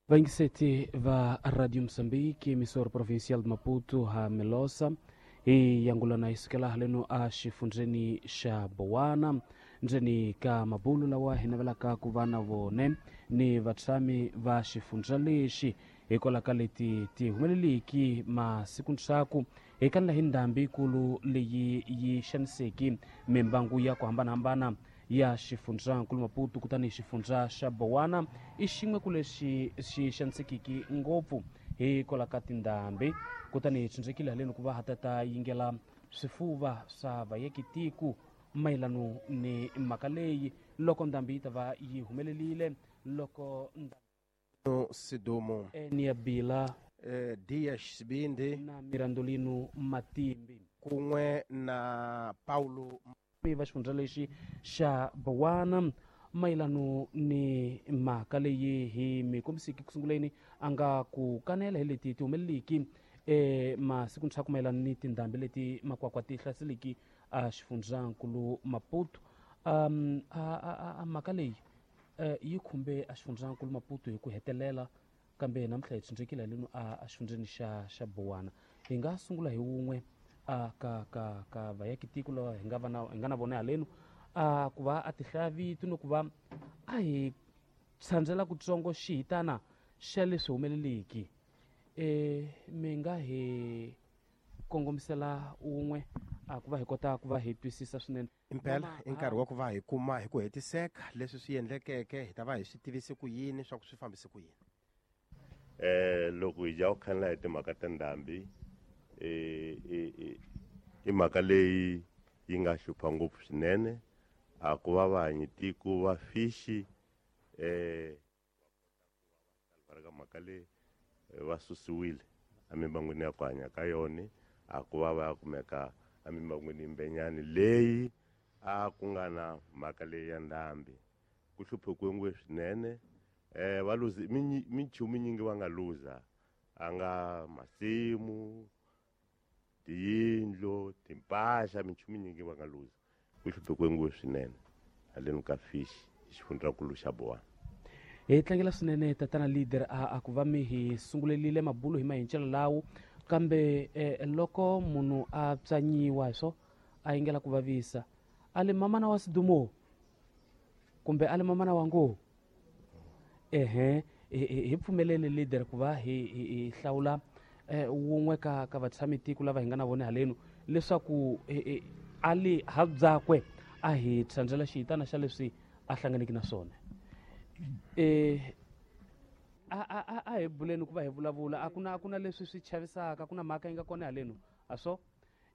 Vayingiseti va Radio Mozambique, emissora provincial de Maputo, ha Melosa hi yangulana hi sukela haleno a xifundzheni xa Bowana, ndzeni ka mabulu lawa hi navelaka ku va na vone ni vatshami va xifundza lexi hikwalaho ka leti ti humeleliki masiku ndzhaku hi kanela hi ndhambi yikulu leyi yi xaniseki mimbangu ya ku hambanahambana ya xifundzankulu Maputo. Kutani xifundza xa Bowana i xin'we ku lexi xi xanisekiki ngopfu hikwalaho ka tindhambi. Kutani hi tshunxekile haleni ku va ha ta yingela swifuva swa vayekitiko mayelano ni mhaka leyi loko ndhambi yi ta va yi humelerile loko Sidumo Enia Bila, Dias Sibindi na Mirandolino Matimbi kun'we na Paulo va xifundza lexi xa Bowana mayelano ni mhaka leyi hi mi kombisiki kusunguleni a nga ku kanela hi leti ti humeleliki masiku ndzhaku mayelano ni tindhambi leti makwakwa ti hlaseliki a xifundzankulu Maputo. A mhaka leyi yi khumbe a xifundzankulu Maputo hi ku hetelela, kambe namuntlha hi tshunxekile haleno a xifundzeni xa Bowana. Hi nga sungula hi wun'we a ka ka ka vayakitiko lava hi nga va na hi nga na vona haleno a ku va a tihlaya vito ni ku va a hi tshandzela kutsongo xihitana xa leswi humeleliki. Mi nga hi kongomisela wun'we a ku va hi kota ku va hi twisisa swinene. Impela i nkarhi wa ku va hi kuma hi ku hetiseka leswi swi endlekeke, hi ta va hi swi tivise ku yini swa ku swi fambise ku yini. Loko hi dya ku khanela hi timhaka ta ndhambi, i mhaka leyi yi nga hlupha ngopfu swinene. A ku va vahanyi tiko va fixi va ka mhaka leyi va susiwile emimbangwini ya ku hanya ka yona, a ku va va ya kumeka emimbangwini yimbenyani leyi a ku nga na mhaka leyi ya ndhambi. Ku hluphekiwe ngopfu swinene. Va luze minchumu nyingi va nga luza, a nga masimu, tiyindlu, timpahla, minchumu nyingi va nga luza. Ku hluphekiwe ngopfu swinene haleni ka fish hi xifundzankulu xa Bowana. Hi tlangela swinene tatana leader a ku va mi hi sungulelile mabulo hi mahincelo lawo, kambe loko munhu a pyanyiwa hi swo a yingela ku vavisa a le mamana wa Sidumo kumbe a le mamana wa ngo ehe, hi pfumelele leader ku va hi hlawula wun'we ka vatshami tiko lava hi nga na vona haleno leswaku a le ha byakwe a hi tshandzela xihitana xa leswi a hlanganeke na swona. A hi buleni ku va hi vulavula, a ku na leswi swi chavisaka, ku na mhaka yi nga kona haleno a swo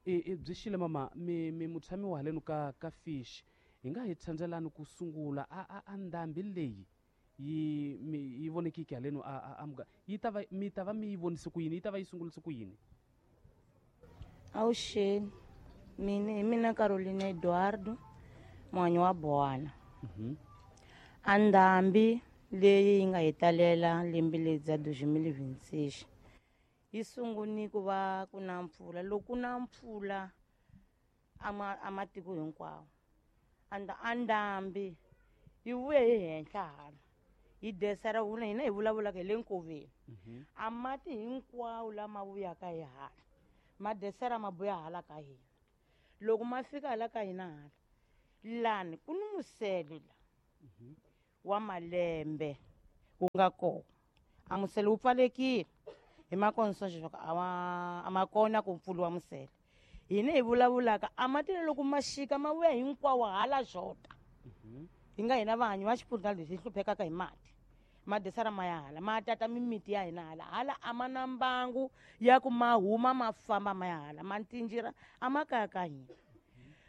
i byi xile mama mi mutshami wa haleno ka fish, hi nga hi tshandzelani ku sungula a ndhambi leyi yi mi yi vonekiki haleno a muga yi ta va mi ta va mi yi vonise ku yini, yi ta va yi sungulise ku yini? Avuxeni, mina hi mina Caroline Eduardo, muhanyi wa Bowana. A ndhambi leyi yi nga hi talela lembe leri bya 2026 yi sunguni ku va ku na mpfula. Loko ku na mpfula a matiko hinkwawo, a ndhambi yi vuye hi henhla hala yi desera vula hina hi vulavulaka hi le nkoveni. A mati hinkwawo lama vuyaka hi hala ma desera ma buya hala ka hina. Loko ma fika hala ka hina hala lani ku ni musele la wa malembe wu nga kona, a musele wu pfalekile hi makonsoxo swa ku a ma kona ku pfuriwa musele. Hina hi vulavulaka a mati loko ma xika ma vuya hinkwawo hala xota, hi nga hina vahanyi va xifundza lexi hi hluphekaka hi mati, ma desera ma ya hala ma tata mimiti ya hina hala hala. A ma na mbangu ya ku ma huma ma famba ma ya hala, ma ntinjira a ma kaya ka hina.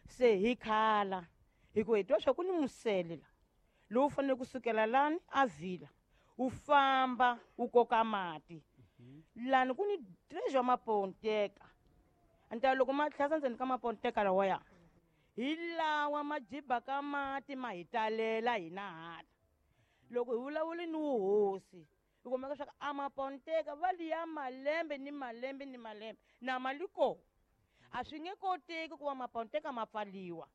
Se hi khala hi ku hi twa swa ku ni musele la lowu fanele kusukela lani a vhila wu famba wu koka mati lani ku ni treasure maponteka anta loko ma tlhasa ndzeni ka maponteka lawaya hi lawa ma jibaka mati ma hi talela hina hala. Loko hi vulavuli ni wuhosi hi kumeka leswaku a maponteka va liya malembe ni malembe ni malembe na mali kona a swi nge koteki ku va maponteka ma pfaliwa.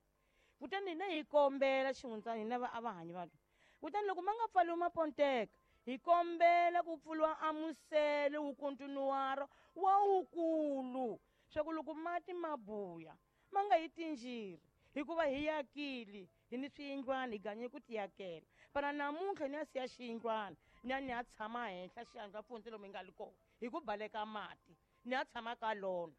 Kutani hina hi kombela xihundza hina a va hanyi vanhu, kutani loko ma nga pfaliwi maponteka Hi kombela ku pfuriwa a musele wu kontinuwara wa wukulu swa ku loko mati ma buya ma nga hi tinjiri hikuva hi yakile hi ni swiyindlwana hi ganye ku tiyakela pana namuntlha ni ya siya xiyindlwana ni ya ni ya tshama henhla xiyandla pfundzi lomu hi nga li kona hi ku baleka mati ni ya tshama ka lona.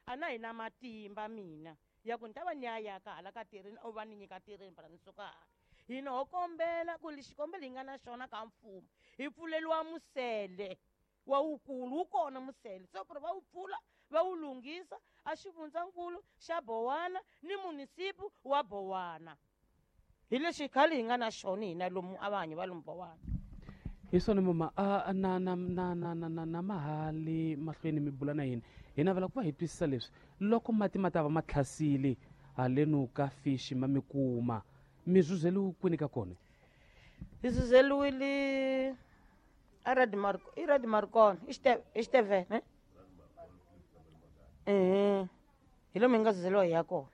A na hina matimba mina ya ku ni ta va ni ya yaka hala ka tirheni o va ni nyika tirheni para ni suka hala. Hina ho kombela ku li xikombelo hi nga na xona ka mfumo hi pfuleliwa musele wa wukulu wu kona musele se ku ri va wu pfula va wu lunghisa a xifundzankulu xa Bowana ni munisipu wa Bowana. Hi lexi khale hi nga na xona hina lomu a va hanyi va lomu Bowana. Hi swona mama a na na na na na na na mahali mahlweni mi bula na yini hi navela ku va hi twisisa leswi loko mati ma ta va ma tlhasile halenu ka fishi ma mi kuma mi zuzeliwe kwini ka kona? Hi zuzeliwile a Red Marco, i Red Marcon, i Xitevene, eh? Ehe. Hi lomu hi nga zuzeliwa hi ya kona.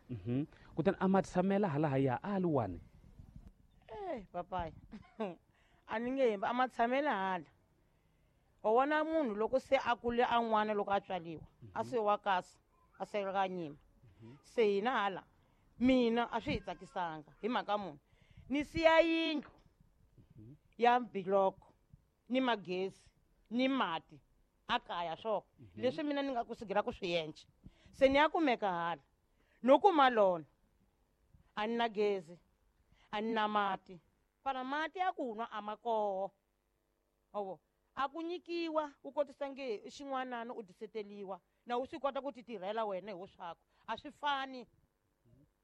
Kutani a ma tshamela halahaya a li wani? Eh, papaya. A ni nge hembi, a ma tshamela hala. Wa vona munhu loko se a kule a n'wana loko a tswaliwa, a se wa kasi, a se ka nyima. Se hina hala, mina a swi hi tsakisanga hi mhaka munhu. Ni siya yindlu ya biloko ni magezi ni mati a kaya swona leswi mina ni nga ku sigira ku swi endla. Se ni ya kumeka hala no kuma lona a ni na gezi a ni na mati pana mati ya ku nwa a ma koho. Owo a ku nyikiwa u kotisa nge i xin'wanana u diseteliwa na u swi kota ku ti tirhela wena hi woswaku a swi fani.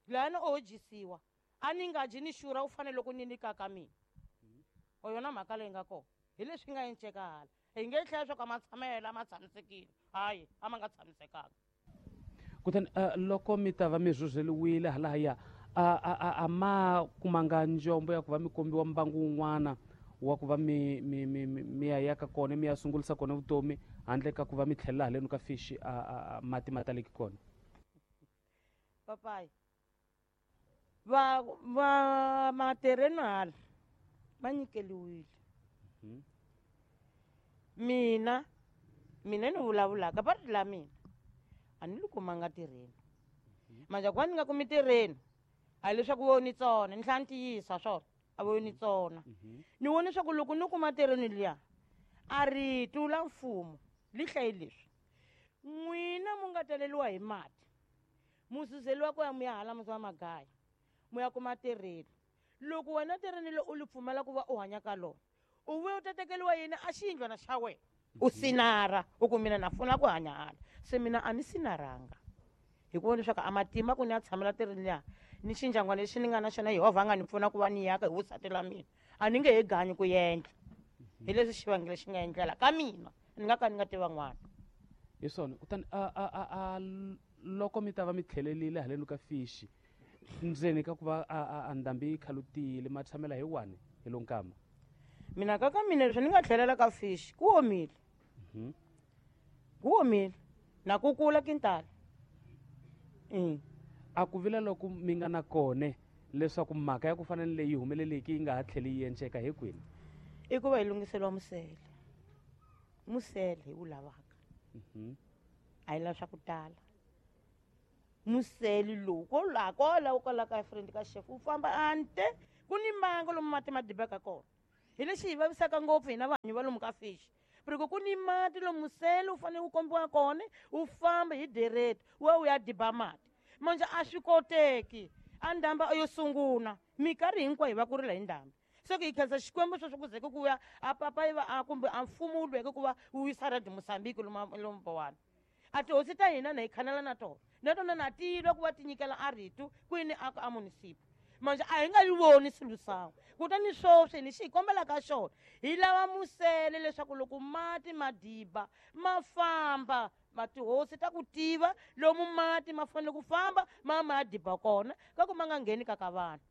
Lana o dyisiwa a ni nga dyi ni xurha u fanele loko ni nyika ka mina. O yona mhaka leyi nga kona hi leswi nga enceka hala hi nge hlaya swa ku a ma tshamela a ma tshamisekile hayi a ma nga tshamisekanga. Kutani loko mi ta va mi rhurheliwile halahaya a ma kumanga njombo ya ku va mi kombiwa mbangu wun'wana wa ku va mi mi mi mi ya yaka kona mi ya sungulisa kona vutomi handle ka ku va mi tlhelela halenu ka fishi a mati ma taleki kona? Papayi va va matereno hala va nyikeliwile. Mina mina ni vulavulaka va ri la mina a ni li kumanga tirheni. Manje ku va ni nga kumi tirheni a leswaku vo ni tsona ni tlhela ni tiyisa swona a vo ni tsona. Ni vone leswaku loko ni kuma tirheni liya a rito la mfumo li hlayi leswi n'wina mu nga taleliwa hi mati mu zuzeliwa ku ya mu ya hala muzi wa magaya mu ya kuma tirheni. Loko wena tirheni le u li pfumela ku va u hanya ka lona u vuya u ta tekeriwa yini a xiyindlwana xa wena u sinara u ku mina na funa ku hanya hala. Se mina a ni sinaranga hikuva leswaku a matimba ku ni ya tshamela tirheni liya ni xindyangwana lexi ni nga na xona Yehovha a nga ni pfuna ku va ni yaka hi vusati la mina a ni nge he ganyi ku endla. Hi leswi xivangelo lexi nga endlela ka mina ni nga ka ni nga ti van'wana. Hi swona. Kutani a loko mi ta va mi tlhelelile halenu ka fishi ndzeni ka ku va a ndhambi yi khalutile ma tshamela hi wani hi lo nkama? Mina ka ka mina leswi ni nga tlhelela ka fishi ku omile. Ku omile na ku kula kintala. A ku vila loko mi nga na kone leswaku mhaka ya ku fana ni leyi humeleleke yi nga ha tlheli yi enceka hi kwini? I ku va hi lunghiseliwa musele. Musele hi wu lavaka. A hi lava swa ku tala. Musele lowu kwalaho kwalaho kwalaho ka friend ka chef wu famba ante ku ni mbango lomu mati ma dibaka kona. Hi lexi hi vavisaka ngopfu hina vanhu va lomu ka fishi. Loko ku ni mati lomu musele wu fanele wu kombiwa kona wu famba hi direct wu ya wu ya diba mati. Manje a swi koteki a ndhamba yo sungula minkarhi hinkwayo hi va ku rila hi ndhambi. Se ku hi khensa Xikwembu sweswo ku zeke ku ya a papa yi va a kumbe a mfumo wu lweke ku va wu yisa Red Mozambique lomu Bowana. A tihosi ta hina na hi khanela na tona na tona na tilwa ku va ti nyikela a rito kwini a a munisipa. Manje a hi nga yi voni swilo swa kutani sweswi ni xi hi kombelaka xona hi lava musele leswaku loko mati ma diba ma famba ma tihosi ta ku tiva lomu mati ma fanele ku famba ma ma diba kona ka ku ma nga ngheni ka ka vanhu.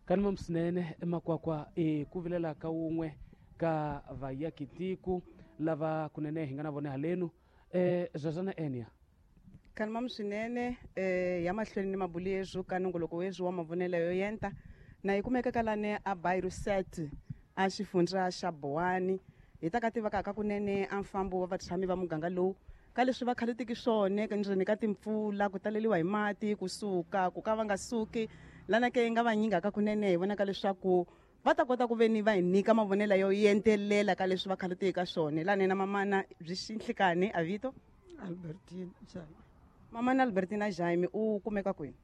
Kani mamusinene emakwakwa i ku vilela ka wun'we ka vayakitiko lava kunene hi nga na vona halenu. Zazana Enia. Kani mamusinene ya mahlweni ni mabulu yezwo ka nongoloko wezwo wa mavonelo yo yenta na yi kumeka ka lane a Bairro 7 a xifundza xa Bowani. Hi ta ka tivaka kunene a mfambo wa vatshami va muganga lowu ka leswi va khaletiki swona ndzeni ka timpfula, ku taleliwa hi mati, kusuka ku ka va nga suki lana ke nga va nyingaka kunene. Hi vonaka leswaku va ta kota ku veni va hi nyika mavonelo yo yentelela ka leswi va khaletiki ka swona. Lana na mamana byi xinhlikani a vito Albertina Jaime. Mamana Albertina Jaime, u kumeka kwini?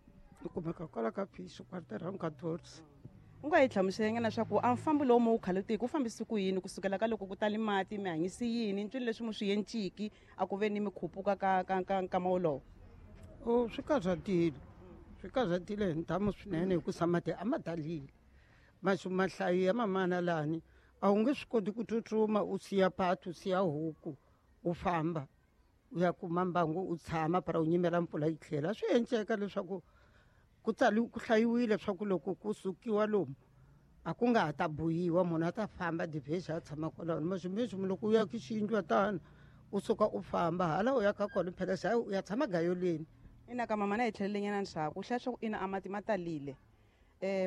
U kumeka kwala ka Phisho, quarter ka Dots. U nga hi hlamusela leswaku a mfambo lowu mu wu khaletiki wu fambisi ku yini kusukela ka loko ku tali mati, mi hanyisi yini, ncwini leswi mu swi yenciki a ku ve ni mi khupuka ka nkama wolowo? O swi karhatile, swi karhatile hi ntamu swinene hikusa mati a ma talile. Maxu mahlayo ya mamana lani a wu nge swi koti ku tsutsuma u siya patu, u siya huku, u famba u ya kuma mbangu u tshama para u nyimela mpfula yi tlhela. Swi enceka leswaku ku tsali ku hlayiwile leswaku loko ku sukiwa lomu a ku nga ha ta buyiwa, munhu a ta famba divhesi a tshama kwalaho. Maximexi loko u ya ki xiyindlu tano u suka u famba hala u ya ka kona phela se u ya tshama gayoleni. Ina ka mama na hi tlhelelenyana ndzhaku, u hlaya swa ku ina a mati ma talile.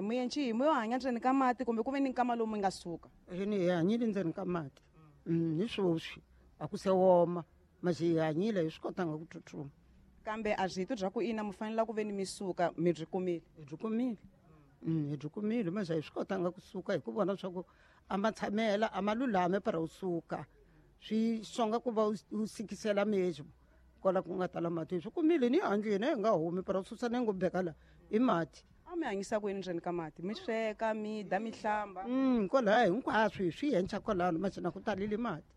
Muyenci mu yo hanya ndzeni ka mati kumbe ku ve ni nkama lowu mi nga suka? Ni hi hanyile ndzeni ka mati. Hi swoswi a ku se woma, masi hi hanyile hi swi kotanga ku tsutsuma. Kambe a byi bya ku ina mi fanele ku ve ni mi suka, mi byi kumile? Hi byi kumile. Hi byi kumile, masi a hi swi kotanga kusuka hi ku vona swa ku a ma tshamela a ma lulame para u suka. Swi songa ku va u sikisela mezwo kwala ku nga tala mati. Hi swi kumile ni handleni hi nga humi para u susa ni ngo beka la i mati. A mi hanyisa ku yini ndzeni ka mati? Mi sweka, mi dya, mi hlamba? Kwalaya hinkwaswo hi swi yenca kwalano, masi na ku talile mati.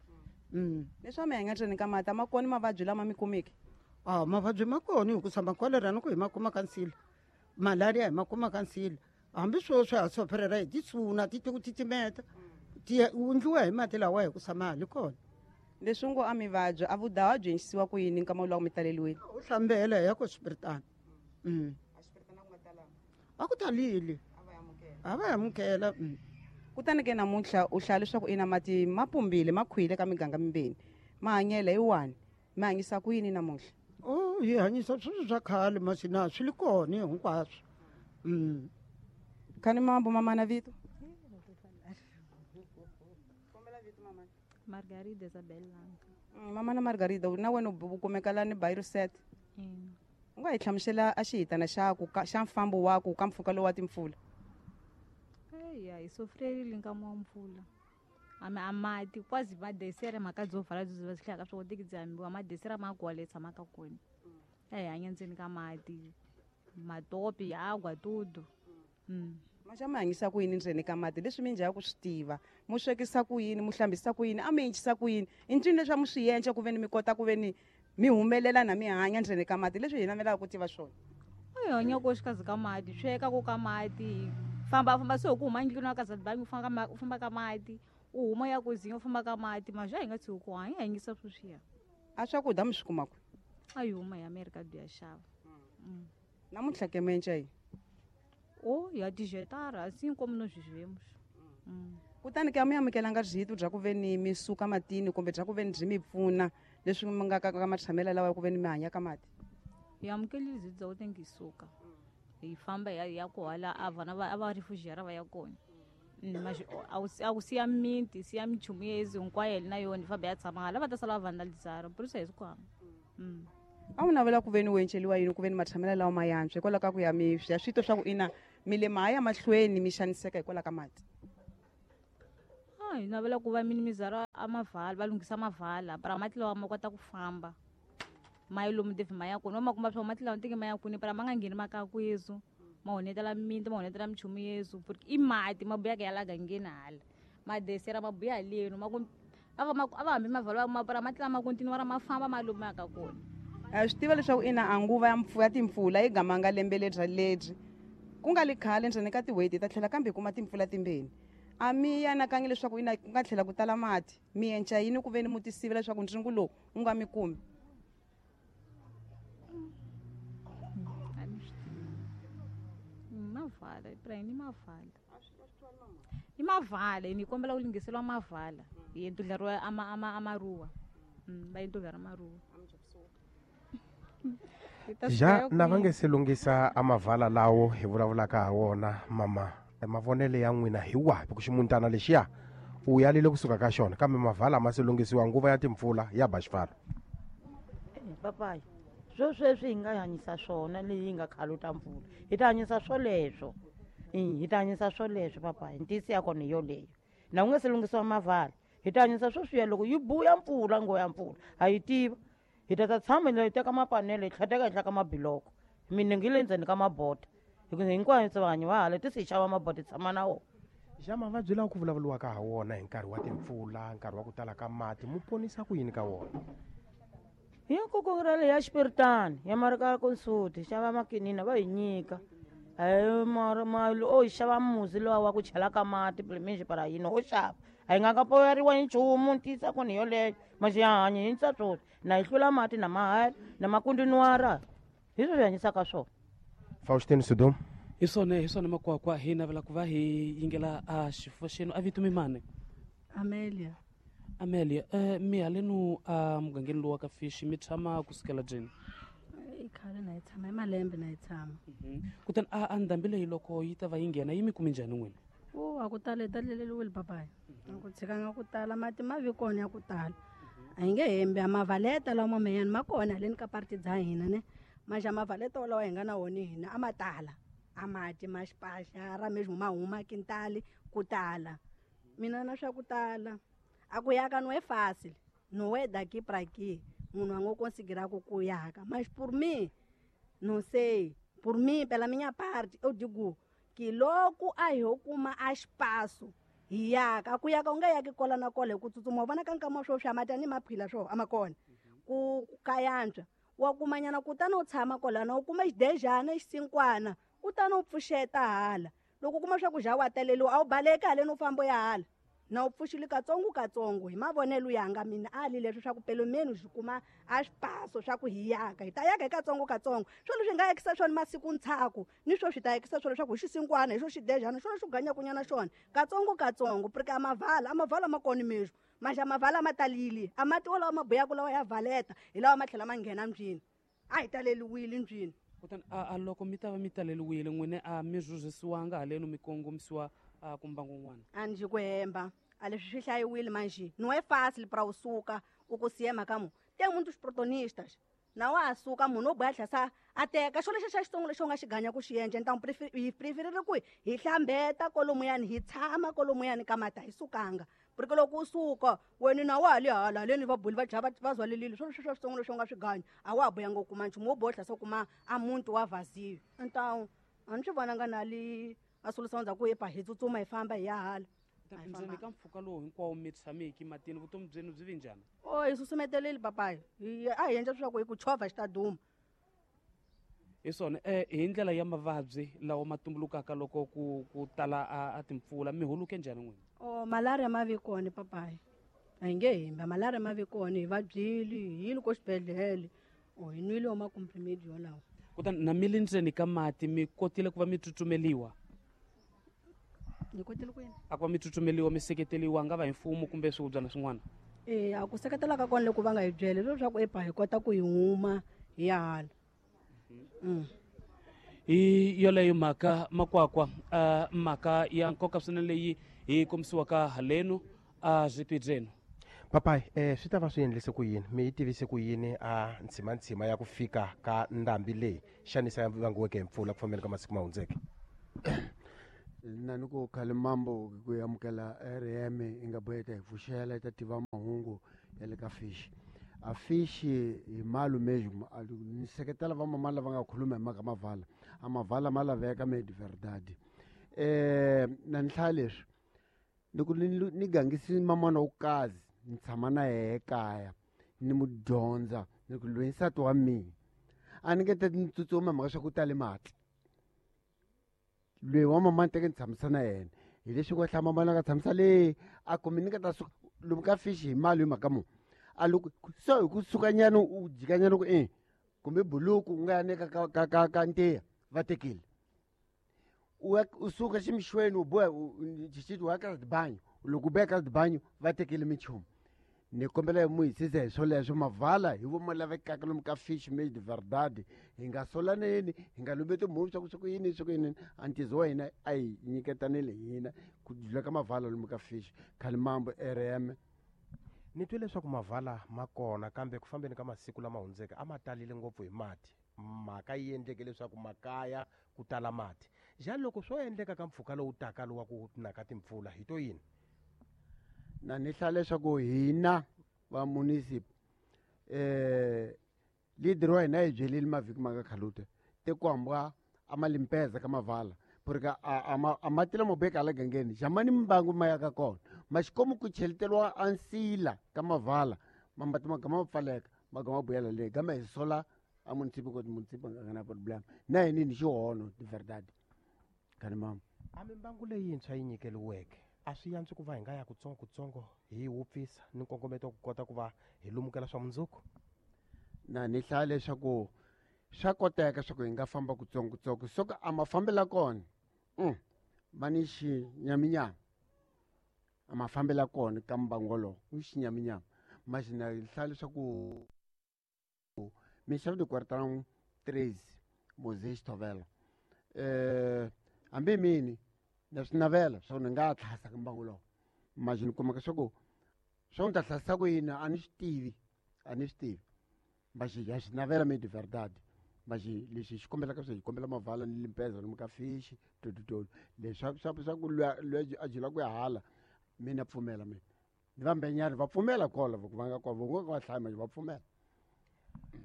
Leswi a mi hanya ndzeni ka mati a ma kona mavabyi lama mi kumiki? A mavabyi ma kona hikusa makolera ni ku hi ma kuma ka nsila, malaria hi ma kuma ka nsila. Hambi sweswi ha sofherela hi tisuna ti ku titimeta, ti endliwa hi mati lawa hikusa ma ha li kona. Leswi ngo a mi vabya, a vudaha byi endlisiwa ku yini nkama lowu mi taleliwile? U hlambela hi ya ku swipiritana. A ku talile. A va amukela. Kutani ke namuntlha u hlaya leswaku ina mati ma pumbile, ma khwile ka miganga mimbirhi. Ma hanyela hi wani, mi hanyisa ku yini namuntlha? O hi hanyisa swilo swa khale masi na swi li kona hinkwaswo. Khani mambo mamana vito? Margarida Isabel Langa. Mamana Margarida, na wena u kumeka lani Bayruset? U nga hi hlamusela a xihitana xa ku xa mfambo wa ku ka mpfhuka lowu wa timpfula? Eya, hi sofrerile nkama wa mpfula. A mati quase ma desere mhaka byo vala byi va swi hlaya ka swi koteki byi hambiwa, ma desere ma kwale tshamaka kona. A hi hanya ndzeni ka mati, matopi, agwa, tudo. Maxa mi hanyisa ku yini ndzeni ka mati? Leswi mi njhaka ku swi tiva, mu swekisa ku yini, mu hlambisa ku yini, a mi encisa ku yini? I ncini leswi a mu swi endla ku ve ni mi kota ku ve ni mi humelela na mi hanya ndzeni ka mati? Leswi hi navelaka ku tiva swona. A hi hanya ko xikazi ka mati, sweka ko ka mati, famba famba se ku huma ndlwini ka Zadbangi, u famba ka mati, u huma ya ku zinya u famba ka mati, mazwi a hi nga tshuki ku hanya, hi hanyisa sweswiya. A swakudya mi swi kuma kwihi? A hi huma hi Amerika byi ya xava. Namuntlha ke mi endla yini? O ya dijetara, assim como nós vivemos. Kutani ke a mi amukelanga rito bya ku ve ni mi suka matini kumbe bya ku ve ni byi mi pfuna leswi mi nga ka matshamelo lawa ya ku ve ni mi hanya ka mati? Hi amukelile byi bya ku te suka. Hi famba hi ya ku hala a vana va a va refugiera va ya kona. Mas a wu siya miti, siya minchumu yezi hinkwayo na yona hi famba ya tshama hala va ta sala va vandalizara, por isso hi swi ku hamba. A wu navela ku ve ni u enceliwa yini ku ve ni matshamelo lawa ma yantswa hikwalaho ka ku ya mi ya swito swa ku ina mi le ma ya mahlweni mi xaniseka hikwalaho ka mati? A hi navela ku va minimizara a mavala, va lunghisa mavala, para mati lawa ma kota ku famba. Ma yi lomu devi ma ya kona, va ma kuma swa mati lawa teke ma ya kwini, para ma nga ngheni makakwezu, ma honetela miti, ma honetela minchumu yezu, porque i mati ma buya ka ya la gangeni hala. Ma desera ma buya haleno, ma ku a va ma a va hambi mavala ma para mati lama continue ra ma famba ma lomu ya ka kona. A swi tiva leswaku ina a nguva ya ya timpfula yi gamanga lembe lebyi lebyi. Ku nga li khale ndzeni ka tin'hweti ta tlhela kambe hi kuma timpfula timbirhi. A mi anakanyi leswaku ina ku nga tlhela ku tala mati, mi enca yini ku ve ni mu tisivela leswaku ndzingo lowu wu nga mi kumi? Mavala, Ibrahim, i mavala. I mavala, ni kombela ku lunghiseriwa mavala. Hi endleriwa amaruwa. Va endleriwa amaruwa. Ja na va nge se lunghisa amavala lawo hi vulavulaka ha wona mama. Mavonelo ya n'wina hi wahi ku ximuntana lexiya u yalile kusuka ka xona kambe mavala ma se lunghisiwa nguva ya timpfula ya ba xifalo. Papayi swo sweswi hi nga hanyisa swona leyi yi nga khaluta mpfula hi ta hanyisa swoleswo, hi ta hanyisa swoleswo papayi, ntiyisi ya kona hi yoleyo na ku nga se lunghisiwa mavala hi ta hanyisa swoswiya loko yi buya mpfula ngo ya mpfula ha yi tiva hi ta ta tshama hi teka mapanele hi tlhateka henhla ka mabiloko minenge yi le ndzeni ka mabota hikuva hinkwayo tse vanhu va hala ti se hi xava mabota hi tshama na wona. Xa mavabyi lawa ku vulavuriwaka ha wona hi nkarhi wa timpfula, nkarhi wa ku tala ka mati, mu ponisa ku yini ka wona? Hi nkoka ra le ya xipiritani ya marika konsuti xava makinina va hi nyika mali o hi xava musi lowa wa ku chela ka mati plimixi para yini o xava a hi nga ka poyeriwa hi nchumu ntiyisa kona hi yoleyo maxi ya hanya hi ntsa swona na hi hlula mati na mahela na makundinwara hi swo swi hanyisaka swona. Faustin Sodom. Hi swona makwakwa hi navela ku va hi yingela a xifo xenu a vito mi mani? Amelia. Amelia, mi halenu a mugangeni lowu wa ka Fishi mi tshama kusukela jeni? I khale na hi tshama, hi malembe na hi tshama. Kutani a ndhambi leyi loko yi ta va yi nghena yi mi kumi njhani n'wina? U a ku tala hi taleleliwile papayi. A ku tshikanga ku tala mati ma vi kona ya ku tala. A hi nge hembi a mavaleta lawa mameyani ma kona haleni ka parti dza hina ne. Maxa mavaleta walawa hi nga na wona hina a ma tala. A mati ma xipaxa ra mesmo ma huma kintali ku tala. Mina na swa ku tala. A ku yaka no é fácil. Não é daqui pra aqui. Munhu a ngo conseguirá ku ku yaka. Mas por mim, não sei. Por mim, pela minha parte, eu digo que loko a hi ho kuma a espaço hi yaka. Ku yaka u nga yaki kola na kola hi ku tsutsuma. U vona ka nkama swo swa mati a ni maphila swo a ma kona. Ku ka yantswa. Wa kumanyana kutani u tshama kwalano u kuma xidejana xisinkwana kutani u pfuxeta hala. Loko u kuma swa ku ja wa taleliwa a wu baleki haleni u famba u ya hala. Na u pfuxile katsongo katsongo hi mavonelo yanga mina a li leswi swa ku pelo menos hi kuma a swipaso swa ku hi yaka hi ta yaka hi katsongo katsongo swo leswi nga yakisa swona masiku ntshaku ni swo swi ta yakisa swona leswaku hi xisinkwana hi xo xidejana xo lexi ganyakunyana xona katsongo katsongo porque a mavala ma kona mesmo maxa mavala ma talile a mati walawa ma buyaku lawa ya valeta hi lawa ma tlhela ma nghena ndlwini a hi taleliwile ndlwini. Kutani a loko mi ta va mi taleliwile n'wina a mi rhurhisiwanga halenu mi kongomisiwa a kumbangu un'wana? A ndzi ku hemba a leswi swi hlayiwile manjhe não é fácil pra u suka u ku siya mhaka mu tem muitos protagonistas na wa suka munhu o boya tlhasa a teka xo lexi xa xitsongo lexi u nga xi ganya ku xi endla então hi preferile ku hi hlambeta kolomuyani hi tshama kolomuyani ka mati a hi sukanga porque loko u suka wena na wa ha le hala haleni va buli va dya va zwalelile swo leswi swa xitsongo lexi u nga swi ganya a wa ha boyanga u kuma nchumu wo boha tlhasa u kuma a muti wa vhaziyo então a ni swi vonanga na li a solução ndzhaku epa hi tsutsuma hi famba hi ya hala. Ndzeni ka mpfhuka lowu hinkwawo mi tshameki matini vutomi byenu byi vi njhani? O hi susumetelile papayi a hi endla leswaku hi ku chovha xi ta duma. Hi swona hi ndlela ya mavabyi lawa ma tumbulukaka loko ku tala a timpfula mi huluke njhani n'wina? O malaria ma vi kona papayi a hi nge hembi malaria ma vi kona hi vabyile hi yile ko xibedhlele o hi nwile wa makomprimedi yolawo. Kutani na mi le ndzeni ka mati mi kotile ku va mi tsutsumeliwa? Hi kotile ku yini? A ku va mi tsutsumeliwa mi seketeriwa nga va hi mfumo kumbe swihubyana swin'wana? A ku seketela ka kona loko va nga hi byeli leswaku epa hi kota ku hi huma hi ya hala. Hi yoleyo mhaka makwakwa mhaka ya nkoka swinene leyi hi kombisiwaka halenu a zwitwi byenu. Papayi swi ta va swi endlise ku yini mi yi tivise ku yini a ntshima ya ku fika ka ndhambi leyi xanisa ya vangiweke hi mpfula ku fambeni ka masiku ma hundzeke? Na ni ku khale mambo ku amukela RM i nga boheka hi pfuxela i ta tiva mahungu ya le ka Fishi. A Fishi hi malu mesmo ni seketela va mama lava nga khuluma hi mhaka mavala a mavala ma laveka me de verdade. Na ni hlaya leswi ni ku ni gangisi mamana wo kazi ni tshama na yehe ekaya ni mu dyondza ni ku loyi nsati wa mina a ni nge te ni tsutsuma mhaka swa ku tale mati loyi wa mama ni teke ni tshamisa na yena hi leswi ku hlaya mama nga tshamisa le a kumbe ni nga ta suka lomu ka Fishi hi mali hi mhaka mu a loko so hi ku sukanyana u jikanyana ku kumbe buluku u nga ya neka ka ntiya va tekile u suka ximixweni u boha xixiti wa ka dibanyo loko u boha ka dibanyo va tekile minchumu. Ni kombela mu hisisa hi swoleswo mavala hi vo ma lavekaka lomu ka fish made verdade. Hi nga solaneni, hi nga lumbi timhuvi swa ku swi ku yini swi ku yini. A ntizo wa hina a hi nyiketanile hina ku dlula ka mavala lomu ka fish. Khalimambo RM. Ni twe leswaku mavala ma kona kambe ku fambeni ka masiku lama hundzeke a ma talile ngopfu hi mati. Mhaka yi endleke leswaku makaya ku tala mati. Njhani loko swo endleka ka mpfhuka lowu taka lowa ku na ka timpfula hi to yini? Na ni hlaya leswaku hina va municip leader wa hina hi byelile mavhiki ma nga khalute te ku hambwa a ma limpeza ka mavala porque a mati lamo beka hala gangeni jamani mbangu ma ya ka kona maxikomu ku cheleteriwa a nsila ka mavala mambati ma gama ma pfaleka ma gama buyela le gama hi sola a municip ko municip nga nga na problem na hini ni xihono de verdade kani mama. A mimbangu leyintshwa yi nyikeliweke a swi yantswi ku va hi nga ya kutsongokutsongo hi wupfisa ni nkongometo wa ku kota ku va hi lumukela swa mundzuku? Na ni hlaya leswaku swa koteka swa ku hi nga famba kutsongokutsongo soko a mafambela kona va ni xinyaminyami a mafambela kona ka mbangu wolowo u xinyaminyami maxi na hlaya leswaku minxavo de quartão 13 Moses Tovela hambi mini na swi navela swa ku ni nga tlhasa ka mbangu lowu maxi ni kumaka swa ku swa ku ni ta hlasisa ku yini a ni swi tivi a ni swi tivi maxi ya swi navela mi de verdade maxi lexi xi kombelaka swi hi kombela mavala ni limpeza lomu ka fishi tototolo leswi swa ku luya a jula ku ya hala mina pfumela mina ni va mbenyani va pfumela kola va nga kona va nga va hlaya maxi va pfumela.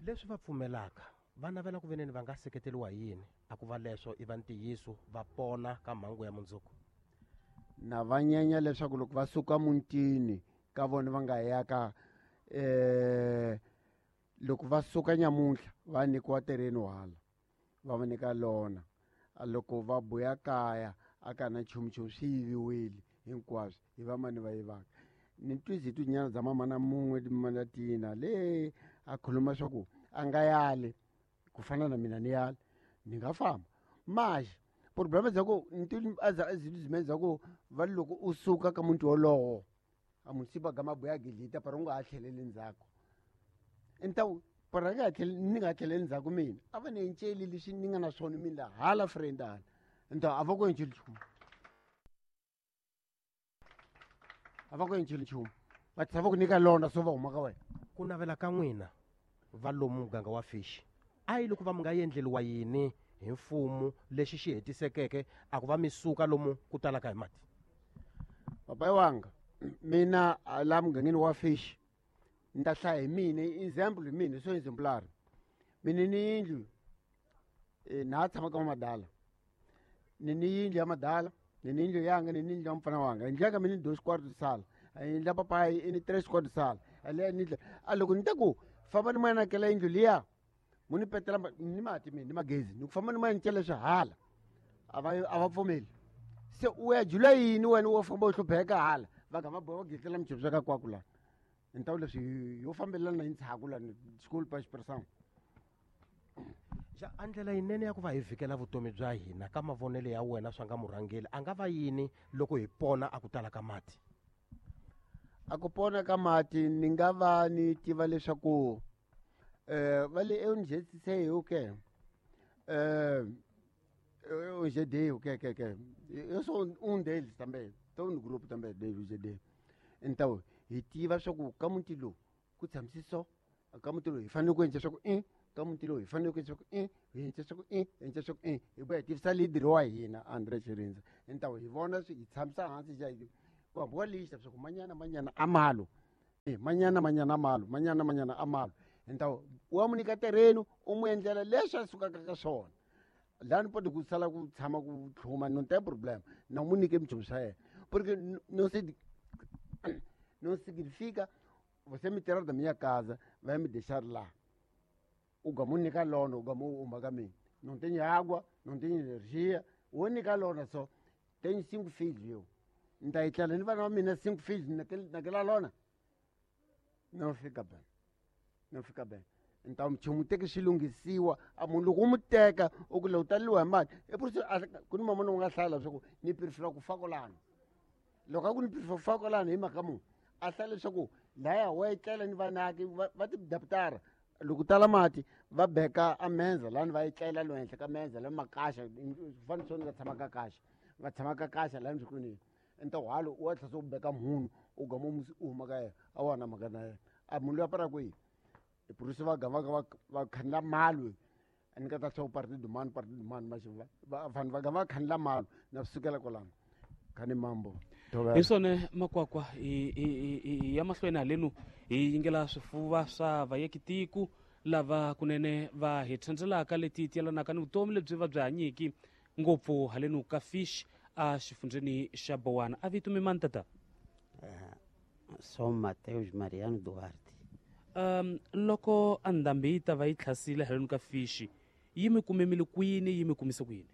Leswi va pfumelaka va navela ku veneni va nga seketeriwa hi yini a ku va leswo i va ntiyiso va pona ka mhangu ya mundzuku? Na va nyenya leswaku loko va suka mutini ka vona va nga ya ka loko va suka nyamuntlha va nyikiwa tereni hala va va nyika lona loko va buya kaya a ka na nchumu swi yiviwile hinkwaswo hi va mani va yivaka. Ni twizi tinyana bya mama na mun'we timana tina le a khuluma swa ku a nga yali ku fana na mina ni yali ni nga famba maxi problema bya ku ni bya ku va loko u suka ka muti wolowo a munsipa ga mabuya gidlita para u nga ha tlheleli ndzhaku ntawu para nga tlheli ni nga tlheleli ndzhaku mina a va ni enceli leswi ni nga na swona mina hala friend hala ntawu a va ku enceli nchumu a va ku enceli nchumu va tshava ku nyika lona so va huma ka wena. Ku navela ka n'wina va lomu muganga wa fish a yi loko va mi nga endleliwa yini hi mfumo lexi xi hetisekeke a ku va mi suka lomu ku talaka hi mati? Papai wanga mina la mugangeni wa fish ni ta hlaya hi mina example hi mina so exemplar mina ni yindlu na ha tshama ka madala ni yindlu ya madala ni yindlu yanga ni yindlu ya mfana wanga yindlu yanga mina ni 2 quarto sala yindlu ya papai ni 3 quarto sala ale ni a loko ni ta ku famba ni mana kela yindlu liya mu ni petela ni mati mina ni magezi ni ku famba ni mana cela swihala a va pfumeli se u ya jula yini wena wo famba u hlupheka hala va nga va boha va gidlela minchumu swa ka kwaku lana ntawu leswi yo fambelana hi ndzhaku lani school pa expressão. Ja a ndlela yinene ya ku va hi vhikela vutomi bya hina ka mavonelo ya wena swa nga murhangeli a nga va yini loko hi pona a ku tala ka mati? A ku pona ka mati ni nga va ni tiva leswaku va le eunjetsise okay UGD okay okay okay eu sou deles também tô no grupo também do UGD então hi tiva swa ku ka muti lowu ku tshamise so ka muti lowu hi fanele ku endla swa ku ka muti lowu hi fanele ku endla swa ku hi endla swa ku hi endla swa ku hi vuya hi tivisa leader wa hina Andre Chirindza então hi vona swi hi tshamisa hansi ja ku hambiwa lista swa ku manyana manyana a malo manyana manyana a malo manyana manyana a malo então wa mu nyika terreno u mu endlela leswi a sukaka ka swona lani pode ku sala ku tshama ku tlhuma não tem problema não mu nyike minchumu swa yena porque não se não significa você me tirar da minha casa vai me deixar lá o gamu nyika lona o gamu uma ka mina não tem água não tem energia o nyika lona só tenho 5 filhos eu ni ta etlela ni vana va mina 5 filhos naquela lona não fica bem não fica bem então nchumu teke xi lunghisiwa a munhu loko u mu teka u ku lowu taleliwa hi mati e por isso ku ni mamana u nga hlaya leswaku ni prefera ku fa kwalano loko a ku ni prefera ku fa kwalano hi mhaka munhu A hlaya leswaku laya wa etlela ni vanaki va tidaputara loko tala mati va beka a menza lani va etlela lo henhla ka menza la makaxa fane nga tshama ka kaxa va tshama ka kaxa lani swikwini ntawhalo u wa tlhela u beka munhu u gama musi u huma ka yena a wa na mhaka na yena a munhu loyi a para kwihi purusi va gama va khanela malwe a ni ka ta tlhela partido mani maxi vanhu va gama va khanela malo na swi sukela kwalano khani mambo hi swona makwakwa hi ya mahlweni halenu hi yingela swifuva swa vayekitiku lava kunene va hi thandzelaka leti ti yelanaka ni vutomi lebyi va byi hanyiki ngopfu halenu ka Fish a xifundzeni xa Bowana. A vito mi mani tata? Sou Mateus Mariano Duarte. Loko a ndhambi yi ta va yi tlhasile halenu ka Fish, yi mi kumemile kwini, yi mi kumise kwini?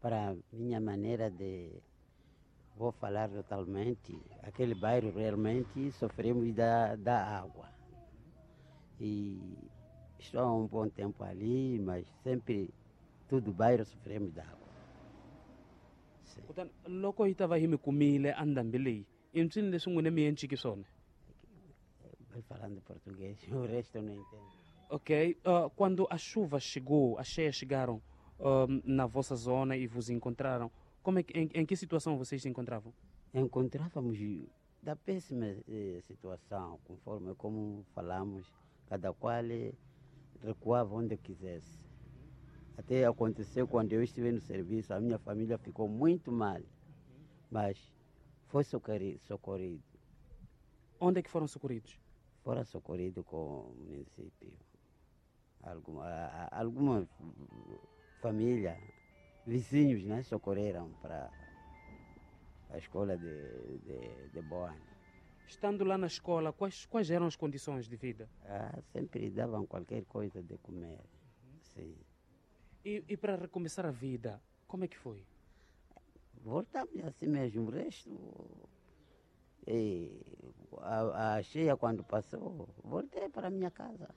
Para minha maneira de vou falar totalmente, aquele bairro realmente sofremos da água. E estou há um bom tempo ali, mas sempre todo bairro sofremos da água. Kutani loko yi ta va yi mi kumile a ndhambi leyi, i mpsini leswi n'wina mi enciki swona? Vai falando português, o resto eu não entendo. Ok, quando a chuva chegou, as cheias chegaram na vossa zona e vos encontraram, como é que, em que situação vocês se encontravam? Encontrávamos da péssima situação, conforme como falamos, cada qual recuava onde quisesse. Até aconteceu quando eu estive no serviço, a minha família ficou muito mal, mas foi socorrido. Onde é que foram socorridos? Foram socorridos com o município. Alguma família, vizinhos, né, socorreram para a escola de Boane. Estando lá na escola, quais eram as condições de vida? Sempre davam qualquer coisa de comer, sim. E para recomeçar a vida, como é que foi? Voltamos assim mesmo, o resto... E a cheia quando passou, voltei para a minha casa.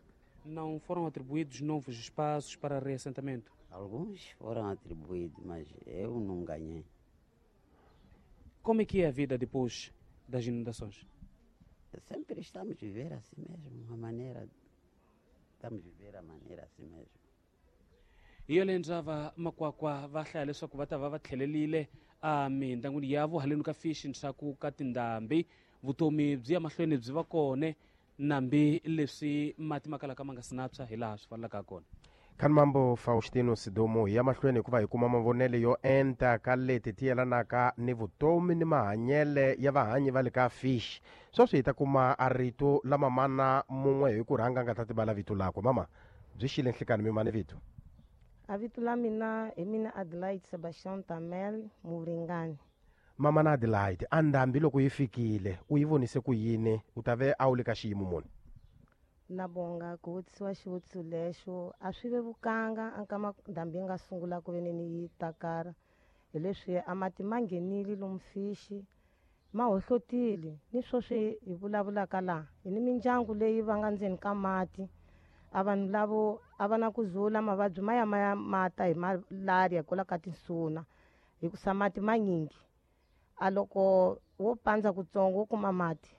Não foram atribuídos novos espaços para reassentamento? Alguns foram atribuídos, mas eu não ganhei. Como é que é a vida depois das inundações? Sempre estamos a viver assim mesmo, a maneira... Estamos a viver a maneira assim mesmo. Hi yole ndzava makwakwa va hlaya leswaku va ta va va tlhelelile a mindangwini yavo haleni ka Fish ndzhaku ka tindhambi. Vutomi byi ya mahlweni byi va kone nambi leswi mati ma kalaka ma nga si na tshwa hi laha swi fanelaka kona. Khani mambo Faustino Sidomo, hi ya mahlweni hikuva hi kuma mavonelo yo enta ka leti ti yelanaka ni vutomi ni mahanyele ya vahanyi va le ka Fish. Sweswi hi ta kuma a rito la mamana mun'we hi ku rhanga nga ta tibala vito lakwe. Mama, byi xile nhlikani mi mani vito? A vito la mina hi mina Adelaide Sebastian Tamel Muringani. Mama na Adelaide, a ndhambi loko yi fikile u yi vonise ku yini? U ta ve a wu le ka xiyimo muni? Na bonga ku vutisiwa xivutiso lexo, a swi vevukanga a nkama ndhambi yi nga sungula ku veneni yi takara, hi leswi a mati ma nghenile lomu Fishi, ma hohlotile. Ni sweswi hi vulavulaka laha hi ni mindyangu leyi va nga ndzeni ka mati, a vanhu lavo a va na ku zula mavabyi ma ya ma ya mata hi malaria hikwalaho ka tinsuna, hikusa mati manyingi. A loko wo pandza kutsongo wo kuma mati,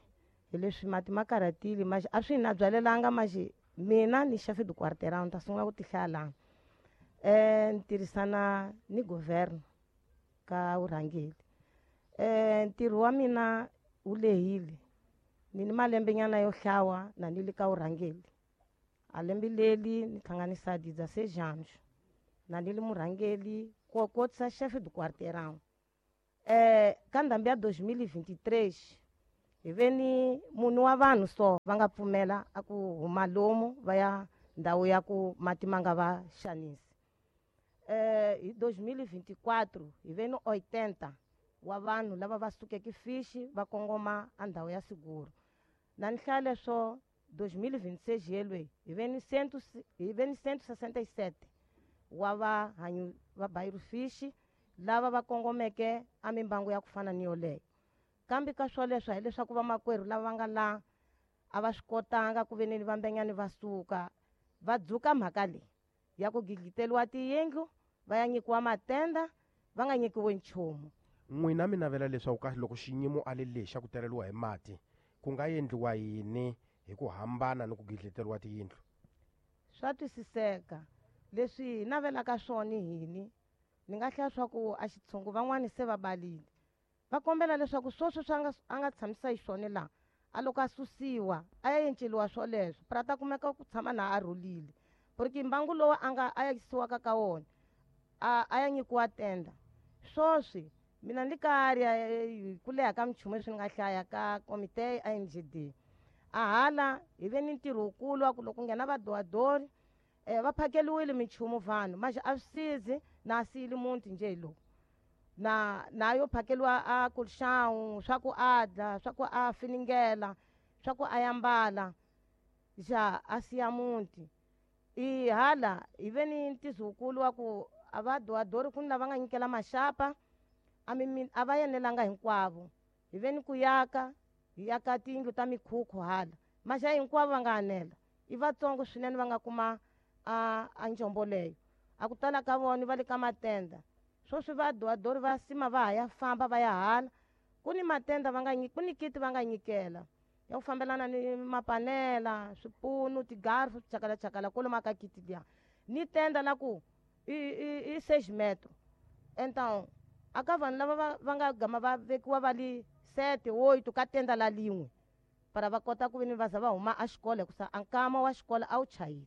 hi leswi mati ma karhatile maxi a swi na byalelanga maxi. Mina ni chef de quartier ni ta sungula ku ti hlaya laha. Ni tirhisana ni governo ka vurhangeri. Ntirho wa mina wu lehile, ni ni malembenyana yo hlawa na ni le ka vurhangeri. A lembe leri ni hlanganisa 16 anos na ni le murhangeri ko kotisa chef de quartier. Ka ndhambi ya 2023 hi ve ni munhu wa vanhu so va nga pfumela a ku huma lomu va ya ndhawu ya ku mati ma nga va xanisi. Hi 2024 hi ve ni 80 wa vanhu lava va sukeke Fish va kongoma a ndhawu ya Siguru. Na ni hlaya leswo 2026 yelwe hi ve ni 167 wa vahanyi va bairro Fish lava va kongomeke a mimbangu ya ku fana ni yoleyo. Kambe ka swoleswo hileswaku vamakwerhu lava nga la a va swi kotanga ku veneni vambenyani va suka va dzuka mhaka leyi ya ku gidliteriwa tiyindlu va ya nyikiwa matenda va nga nyikiwi nchumu. N'wina mi navela leswaku ka loko xinyimo a le lexi xa ku teleriwa hi mati Ku nga endliwa yini hi ku hambana ni ku gidleteriwa tiyindlu? Swa twisiseka leswi hi navelaka swona hini. Ni nga hlaya swa ku a xitshungu van'wani se va balile, va kombela leswaku swoswo swi a nga tshamisa xiswona laha, a loko a susiwa a ya enceliwa swoleswo pra ta kumeka ku tshama na a rhulile, porque mbangu lowu a nga a yisiwaka ka wona a ya nyikiwa tenda. Swoswi mina ni ka area ku leha ka minchumu leswi ni nga hlaya ka komite ya INGD, a hala hi ve ni ntirho wukulu wa ku loko nghena vadowadori, va phakeliwile minchumu vanhu, manje a swi sizi na siyile muti njhe hi lowu na yo phakeliwa a kulxawu swa ku a dla, swa ku a finingela, swa ku a yambala, ja a siya muti. I hala hi ve ni ntizo wukulu wa ku a va dowadori ku ni lava nga nyikela maxapa, a va yenelanga hinkwavo. Hi ve ni ku yaka, hi yaka tiyindlu ta mikhukhu hala, maxa hinkwavo va nga anela, i vatsongo swinene va nga kuma a njombo leyo. A ku tala ka vona va le ka matenda. Swoswi va dowadori va sima va ha ya famba va ya hala, ku ni matenda va nga ku ni kiti va nga nyikela ya ku fambelana ni mapanela, swipunu, tigarfu, chakala chakala kwalomu ka kiti liya. Ni tenda la ku i seis metro. Então a ka vanhu lava va nga gama va vekiwa va li sete oito ka tenda la lin'we, para va kota ku veni va za va huma a xikolo, hikusa a nkama wa xikolo a wu chayile.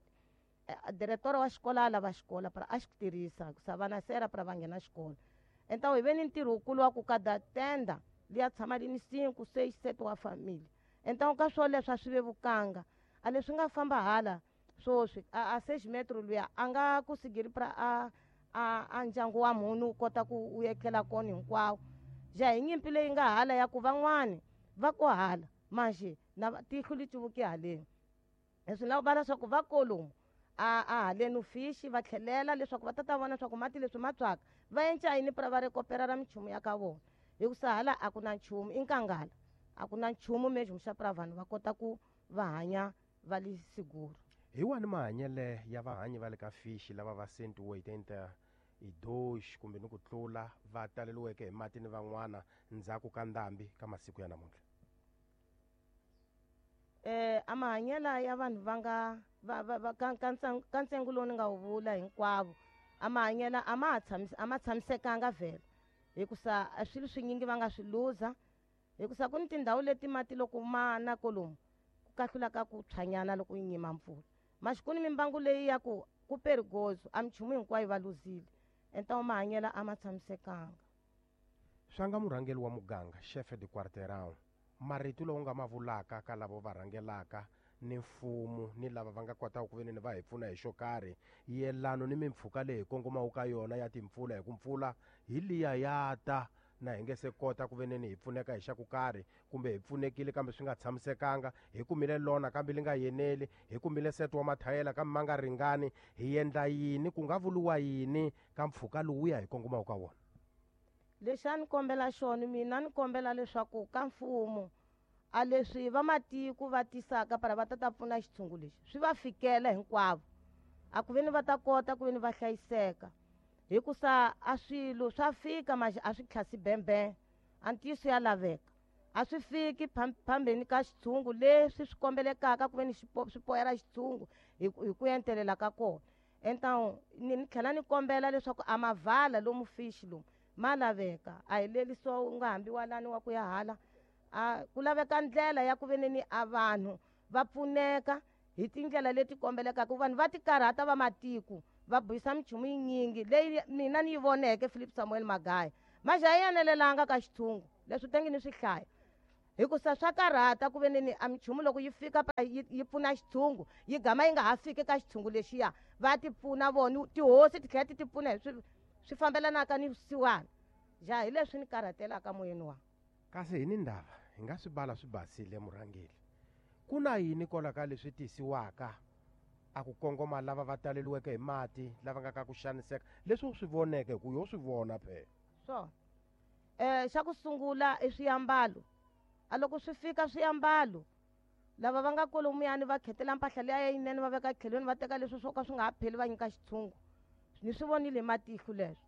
Diretora wa xikolo a lava xikolo para a xi tirhisa, hikusa vana sera para va nghena xikolo. Então hi ve ni ntirho wukulu wa ku kada tenda liya tshama li ni 5, 6, 7 wa family. Então ka swoleswo a swi vevukanga, a leswi nga famba hala swoswi a seis metro luya a nga ku sigiri pra a ndyangu wa munhu wu kota ku wu etlela kona hinkwawo. Ja hi nyimpi leyi nga hala ya ku van'wani va ko hala manjhe na tihlo li cuvuke haleni, leswi lava va leswaku va kolomu a haleni fishi va tlhelela leswaku va ta vona leswaku mati leswi ma tswaka va enca yini pra va rekopera ra minchumu ya ka vona, hikusa hala a ku na nchumu, i nkangala, a ku na nchumu mesmo xa pra vanhu va kota ku va hanya va li siguro. Hi wani mahanyele ya vahanyi va le ka fishi lava va 182 kumbe ni ku tlula va taleliweke hi mati ni van'wana ndzhaku ka ndhambi ka masiku ya namuntlha? A mahanyela ya vanhu va nga va, va, va, ka, ka ntsengo, ka ntsengo lowu ni nga wu vula hinkwavo, a mahanyela a ma ha tshamis-, a ma tshamisekanga vhele, hikusa a swilo swinyingi va nga swi luza, hikusa ku ni tindhawu leti mati loko ma na kolomu ku kahlula ka ku tshwanyana loko yi nyima mpfula. Maxi ku ni mimbangu leyi ya ku ku perigozo, a minchumu hinkwayo va luzile. Então mahanyela a ma tshamisekanga. Swa nga murhangeri wa muganga, chef de quarteirão, marito lowu nga ma vulaka ka lava va rhangelaka ni mfumo ni lava va nga kotaka ku ve ni va hi pfuna hi xo karhi, yelano ni mimpfhuka leyi hi kongomaka ka yona ya timpfula, hi ku mpfula hi liya ya ta na hi nge se kota ku ve ni hi pfuneka hi xa ku karhi, kumbe hi pfunekile kambe swi nga tshamisekanga, hi kumile lona kambe li nga yeneli, hi kumile set wa mathayela kambe ma nga ringani, hi endla yini, ku nga vuriwa yini ka mpfhuka lowuya hi kongomaka ka wona? Lexi a ni kombela xona mina, ni kombela leswaku ka mfumo a leswi va matiko va tisaka para va ta ta pfuna xitshungu lexi swi va fikela hinkwavo, a ku ve ni va ta kota ku ve ni va hlayiseka, hikusa a swilo swa fika manje a swi tlhasi bembe, a ntiyiso ya laveka, a swi fiki phambeni ka xitshungu leswi swi kombelekaka ku ve ni swi poyela xitshungu hi ku entelela ka kona. Então ni tlhela ni kombela leswaku a mavala lomu fishi lomu ma laveka, a hi leliso u nga hambi walani wa ku ya hala, a ku laveka ndlela ya ku ve ni a vanhu va pfuneka hi tindlela leti kombelekaka, vanhu va ti karhata va matiko va buyisa minchumu yinyingi leyi mina ni yi voneke Philip Samuel Magaya, manje a yi enelelanga ka xitshungu leswi tenge ni swi hlaya, hikusa swa karhata ku ve ni a minchumu loko yi fika yi pfuna xitshungu yi gama yi nga ha fiki ka xitshungu lexiya, va ti pfuna vona tihosi ti tlhela ti ti pfuna hi swi fambelanaka ni vusiwana. Ja hi leswi ni karhatelaka moyeni wa. Kasi hi ni ndava hi nga swi bala swi basile murhangeri, ku na yini kwala ka leswi tisiwaka a ku kongoma lava va taleliweke hi mati, lava nga ka ku xaniseka, leswi u swi voneke hi ku yo swi vona phela? Swona. Xa ku sungula i swiambalo. A loko swi fika swiambalo, lava va nga kolomuyani va khetela mpahla liya yinene va veka tlhelweni, va teka leswi swo ka swi nga ha pheli va nyika xitshungu. Ni swi vonile hi matihlo leswo.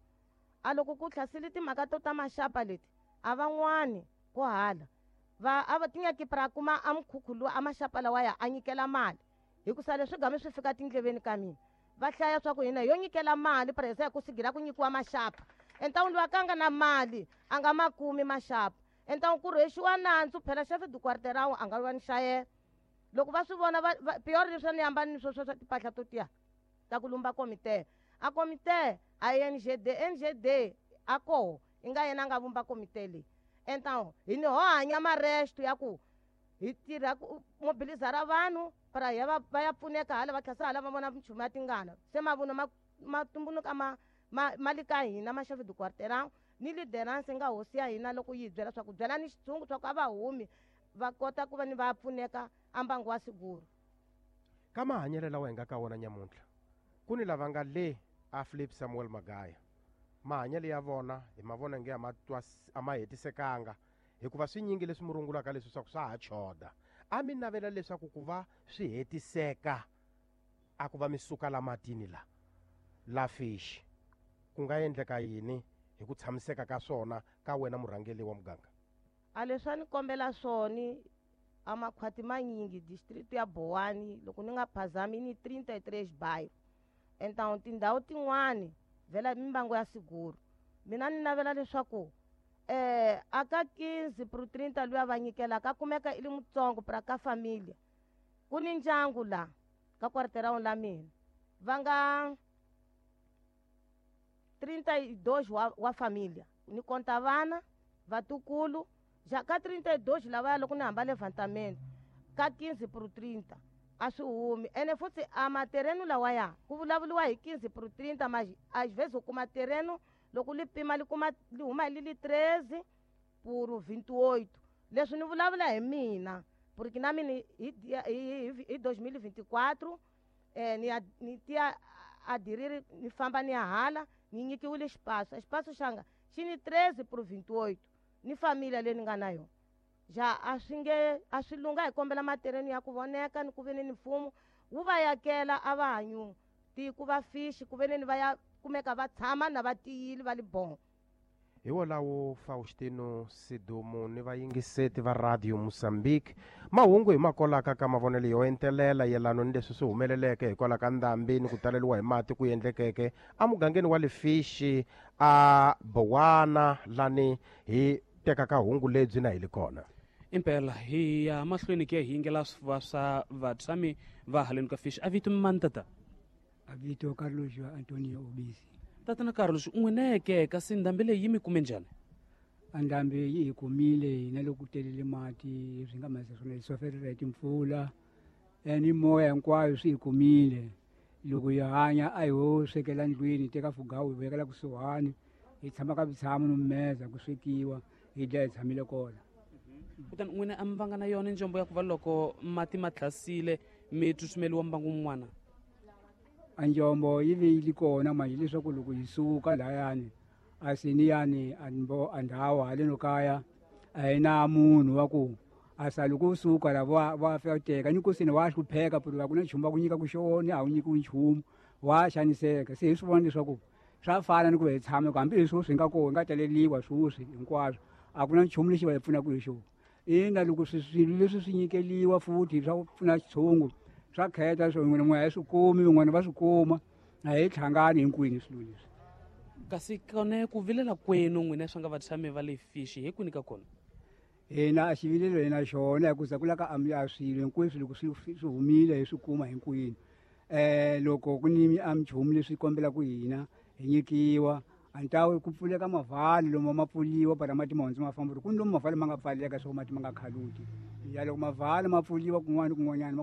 A loko ku hlasele timhaka to ta maxapa leti, a van'wani ko hala. Va a va tinyaki pra kuma a mukhukhu lowu a maxapa lawa ya a nyikela mali hikusa leswi game swi fika tindleveni ka mina va hlaya swa ku hina yo nyikela mali presa ya ku sigira ku nyikiwa maxapa entawuni loyi a ka nga na mali a nga ma kumi maxapa entawuni ku rhwexiwa nandzu phela chef du quarterawu a nga lwa ni xayela loko va swi vona pior leswi a ni hambani ni swo swa timpahla to tiya ta ku lumba komite a komite a NGD NGD a koho i nga yena a nga vumba komite leyi então hi ni ho hanya maresto ya ku hi tirha ku mobilizara vanhu para ya va ya pfuneka hala va tlhasa hala va vona minchumu ya tingana se mavunwa ma tumbuluka ma li ka hina ma chef du quarterawu ni lideranse nga hosi ya hina loko yi hi byela swa ku byela ni xitshungu swa ku a va humi va kota ku va ni va pfuneka a mbangu wa siguru. Ka mahanyelo lawa hi nga ka wona nyamuntlha ku ni lava nga le a Philip Samuel Magaya mahanyelo ya vona hi ma vona nge a ma hetisekanga hikuva swinyingi leswi mi rungulaka leswi swa ku swa ha choda a mi navela leswaku ku va swi hetiseka a ku va mi suka la matini la fishi ku nga endleka yini hi ku tshamiseka ka swona ka wena murhangeri wa muganga? A leswi a ni kombela swona a makhwati manyingi district ya Bowani loko ni nga phazami ni 33 bayo então tindhawu tin'wani vhela mimbangu ya siguru mina ni navela leswaku a ka 15 pro 30 luya va nyikelaka a kumeka i li mutsongo pra ka familia ku ni ndyangu la ka quarterawu la mina va nga 32 wa familia ni konta vana vatukulu ja ka 32 lavaya loko ni hamba levantamento ka 15 pro 30 a swi humi ene futhi a materenu lawaya ku vulavuriwa hi 15 pro 30 ma às vezes u kuma tereno loko li pima li kuma li huma li li 13 por 28 leswi ni vulavula hi mina porque na mina hi 2024 ni tiya adiriri ni famba ni ya hala ni nyikiwile xipaso xipaso xanga xi ni 13 por 28 ni familia leyi ni nga na yona ja a swi nge a swi lunga hi kombela matereni ya ku voneka ni ku ve ni mfumo wu va yakela a va hanyu tiko va fishi ku ve ni va ya kumeka va tshama na va tiyile va li bon. Hi wolawo Faustino Sidumo ni vayingiseti va Radio Mozambique mahungu hi makolaka ka mavonelo yo entelela yelano ni leswi swi humeleleke hikwalaho ka ndhambi ni ku taleriwa hi mati ku endlekeke emugangeni wa Lefishi a Bowana lani hi tekaka hungu lebyi na hi li kona. Impela hi ya mahlweni ke hi yingela swifuva swa vatshami va haleni ka Fishi. A vito mani tata? A vito Carlos Antonio Obisi. Tatana Carlos, n'wineke kasi ndhambi leyi yi mi kume njhani? A ndhambi yi hi kumile hina loko ku telele mati swi nga masi swona hi soferela hi timpfula ni moya hinkwayo swi hi kumile. Loko hi hanya a hi ho swekela ndlwini hi teka fugawu hi vekela kusuhani hi tshama ka vutshamo no meza ku swekiwa hi dya hi tshamile kona. Kutani n'wina a mi vanga na yona njombo ya ku va loko mati ma tlhasile mi tsutsumeliwa mbangu wun'wana? A njombo yi ve yi li kona manje leswaku loko hi suka layani a siniyani a ndhawu haleno kaya a hi na munhu wa ku a sa loko u suka la va fika teka ni ku sini wa hlupheka porque a ku na nchumu va ku nyika ku xona a wu nyikiwi nchumu wa xaniseka. Se hi swi vona leswaku swa fana ni ku hi tshama hambi leswi swi nga kona hi nga taleliwa sweswi hinkwaswo a ku na nchumu lexi va hi pfunaka hi xona. Ina loko swilo leswi swi nyikeliwa futhi swa ku pfuna xitshungu swa kheta swo n'wina n'we a hi swi kumi van'wana va swi kuma a hi hlangani hinkwenu swilo leswi. Kasi kone ku vilela kwenu n'wina swa nga vatshami va le Fishi hi kwini ka kona? Hina a xivilelo hina xona hikuza ku la ka a swilo hinkweswo loko swi humile hi swi kuma hinkwenu. Loko ku ni a minchumu leswi kombelaka hina hi nyikiwa a ntawu ku pfuleka mavhali lomu ma pfuliwa para mati ma hundza ma famba ku ni lomu mavhali ma nga pfaleka swo mati ma nga khaluki ya loko mavhali ma pfuliwa kun'wana kun'wanyana.